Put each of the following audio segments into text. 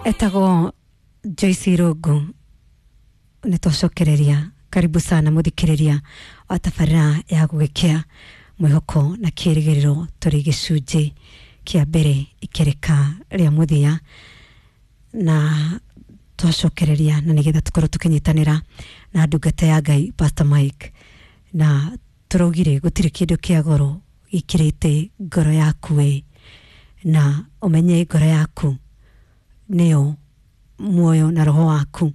Etagwo Joyce Irungu. Nĩ twacokereria. Karibu sana mũthikĩrĩria wa tabarĩra ya gũgĩkĩa mwĩhoko na kĩrĩgĩrĩro. Tũrĩ gĩcunjĩ kĩa mbere ikereka rĩa mũthia na twacokereria, na nĩgetha tũkorwo tũkĩnyitanĩra na ndungata ya Ngai Pastor Mike, na tũraugire gũtirĩ kĩndũ kĩa goro gĩkĩrĩte ngoro yaku we, na ũmenye ngoro yaku nĩyo muoyo na roho waku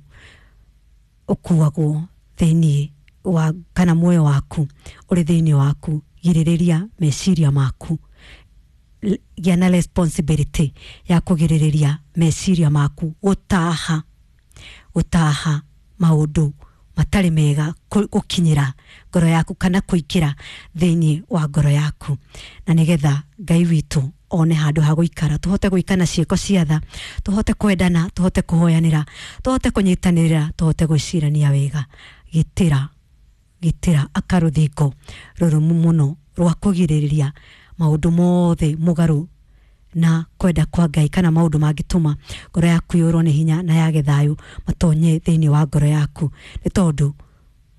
ũkuagwo thĩiniĩ wa, kana muoyo waku ũrĩ thĩiniĩ waku. Girĩrĩria meciria maku. Gĩa na responsibility ya kũgirĩrĩria meciria maku gũtaha maũndũ matarĩ mega gũkinyĩra ngoro yaku kana kũingĩra thĩiniĩ wa ngoro yaku, na nĩgetha Ngai witũ one handũ ha gũikara, tũhote gwĩka na ciĩko cia tha, tũhote kwendana, tũhote kũhoyanĩra, tũhote kũnyitanĩra, tũhote gwĩcirania wega. Gitĩra akarũthingo rũrũmu mũno rwa kũgirĩrĩria maũndũ mothe mũgarũ na kwenda kwa Ngai, kana maũndũ mangĩtũma ngoro yaku yũrwo nĩ hinya na yage thayũ matonye thĩinĩ wa ngoro yaku, nĩ tondũ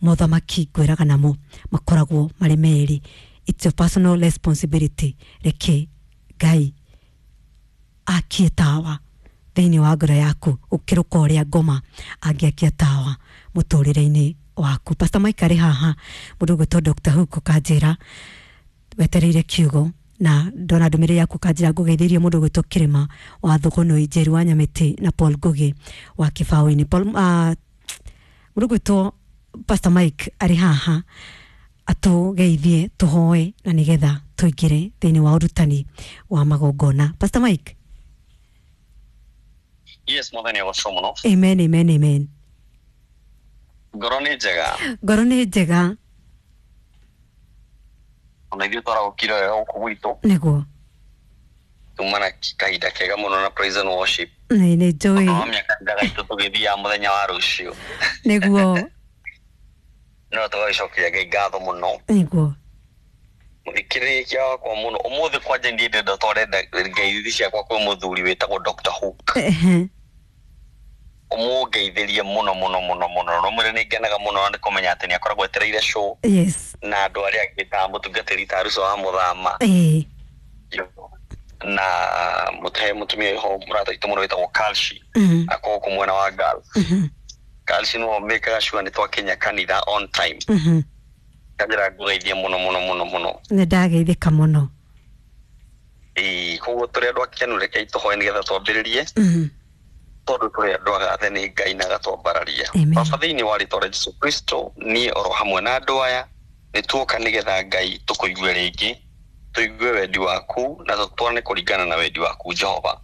mothamaki ngwĩraga namo makoragwo marĩ merĩ. It's your personal responsibility. Reke Ngai akie tawa thĩinĩ wa ngoro yaku ũkĩrũka ũrĩa ngoma angĩakia tawa mũtũrĩre-inĩ waku. Pastor Mike arĩ haha, mũndũ ũgwĩtwo Dr. Hook ũkanjĩra wetereire kiugo, na ndona ndũmĩrĩri yaku kanjĩra ngũgeithĩrie mũndũ ũgwĩtwo Kĩrĩma wa Thũgũnũi, Njeri wa Nyamĩtĩ na Paul Ngugi wa Kĩbaũ-inĩ. Paul, mũndũ ũgwĩtwo Pastor Mike arĩ haha atũgeithie, tũhoe na nĩgetha tũingĩre thĩinĩ wa ũrutani wa magongona. Pastor Mike. Yes, Mwathani agocwo mũno. Amen, amen, amen. Ngoro nĩ njega? Ngoro nĩ njega. Ona ithuĩ twarahũkire wega gũkũ gwitũ. Nĩguo. Tuma na kahinda kega mũno na praise and worship. Nĩ njũĩ. No mĩaka gaitũ tũgĩthiaga mũthenya wa rũciũ. Nĩguo. No tũgagĩcokeria Ngai ngatho mũno. Nĩguo. Mũthikĩrĩria wakwa mũno ũmũthĩ, kwanja niĩ ndĩrenda twarenda ngeithi ciakwa kwĩ mũthuri wĩtagwo Dr. Hook. Ũmũngeithĩrie mũno mũno mũno mũno, no mwĩre nĩ ngenaga mũno na nĩ kũmenya atĩ nĩ akoragwo etereire show na andũ arĩa angĩ ta mũtungatĩri ta Ruco wa Mũthama na mũtehe mũtumia ho mũrata witũ mũno wĩtagwo Kalshi, akorwo kũ mwena wa Gulf. Kalshi nĩwe mĩkaga sure nĩ twakinya kanitha on time. Kanjĩra ngũgeithie mũno mũno mũno mũno. Nĩ ndageithĩka mũno. Ĩĩ, koguo tũrĩ andũ akenu, rekei tũhoe nĩgetha twambĩrĩrie, tondũ tũrĩ andũ agathe nĩ Ngai na agatwambararia. Amen. Baba, thĩinĩ wa rĩtwa rĩa Jesu Kristo, niĩ oro hamwe na andũ aya nĩ tuoka nĩgetha Ngai tũkũigue rĩngĩ, tũigue wendi waku na tũtwarane kũringana na wendi waku Jehova.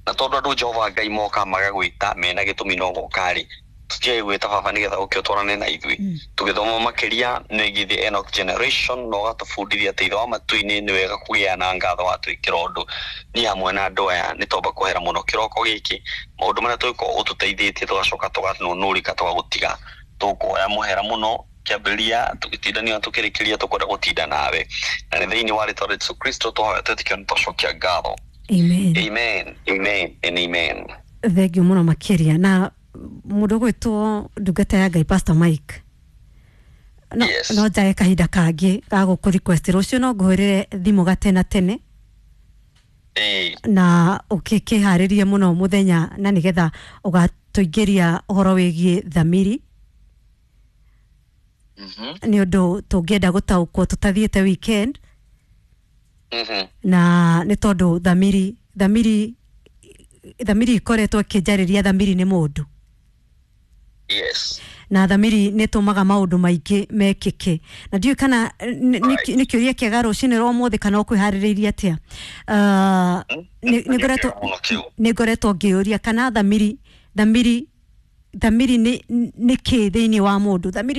Na tondũ andũ Jehova Ngai moka magagwĩta mena gĩtũmi no goka rĩ, tũtiage gwĩta Baba nĩgetha ũke ũtwarane na ithuĩ tũgĩthoma makĩria nĩgiĩ the Enoch generation, na ũgatũbundithia atĩ Ithe wa matu-inĩ nĩ wega kũgĩa na ngatho watwĩkĩra ũndũ. Niĩ hamwe na andũ aya nĩ twamba kwehera mũno kĩroko gĩkĩ maũndũ marĩa tũgĩkorwo ũtũteithĩtie, tũgacoka tũganũnũrĩka tũgagũtiga. Tũkũhoya mũhera mũno kĩambĩrĩria tũgĩtindania tũkĩrĩkĩria, tũkwenda gũtinda nawe, na nĩ thĩinĩ wa rĩtwa rĩa Jesu Kristo tũhoya twĩtĩkio nĩ twacokia ngatho. Amen. Amen, amen and amen. Thengiũ mũno makĩria na mũndũ ũgwĩtwo ndungata ya Ngai Pastor Mike, no, Yes. no njage kahinda kangĩ ga gũkũ request rũciũ, no ngũhũrĩre thimũ gatena tene na ũkĩharĩrie mũno mũthenya na nĩgetha ũgatũingĩria ũhoro wĩgiĩ thamiri, nĩ ũndũ tũngĩenda gũtaũkwo tũtathiĩte weekend, na nĩ tondũ thamiri ikoretwo ĩkĩnjarĩria. Thamiri nĩ mũndũ na thamiri nĩ tũmaga maũndũ maingĩ mekĩke, na ndiũĩ kana nĩ kĩũria kĩega rũcinĩ rwa ũmũthĩ kana ũkwĩharĩrĩirie atĩa. Mũno kĩu. Nĩ ngoretwo ngĩũria kana thamiri nĩ kĩ thĩinĩ wa mũndũ, thamiri.